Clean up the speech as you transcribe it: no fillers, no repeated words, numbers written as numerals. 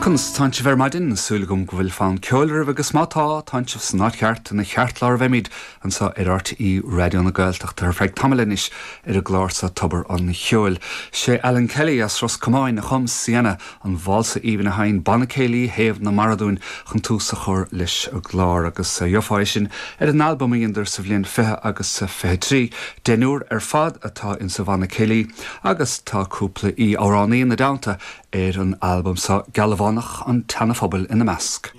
Conas tánn sibh ar maidin? Súil agam go bhfuil fonn ceoil oraibh agus má tá, tánn sibh san áit cheart, ina cheartlár a bheimid anseo ar RTÉ Raidió na Gaeltachta ar feadh tamaill anois ar an gclár seo Tobar an Cheoil. Sé Alan Kelly as Ros Comáin a chum Sienna, an válsa aoibhinn a sheinn Banna Céilí Thaobh na Mara dúinn chun tús a chur leis an gclár agus gheofá é sin ar an albam a dheineadar sa bhliain 20 agus 23. Deichniúr ar fad atá insa bhanna céilí agus tá cúpla aoi-amhránaí ina dteannta ar an albam seo, Gealbhánach an tSeana-Phobail ina measc.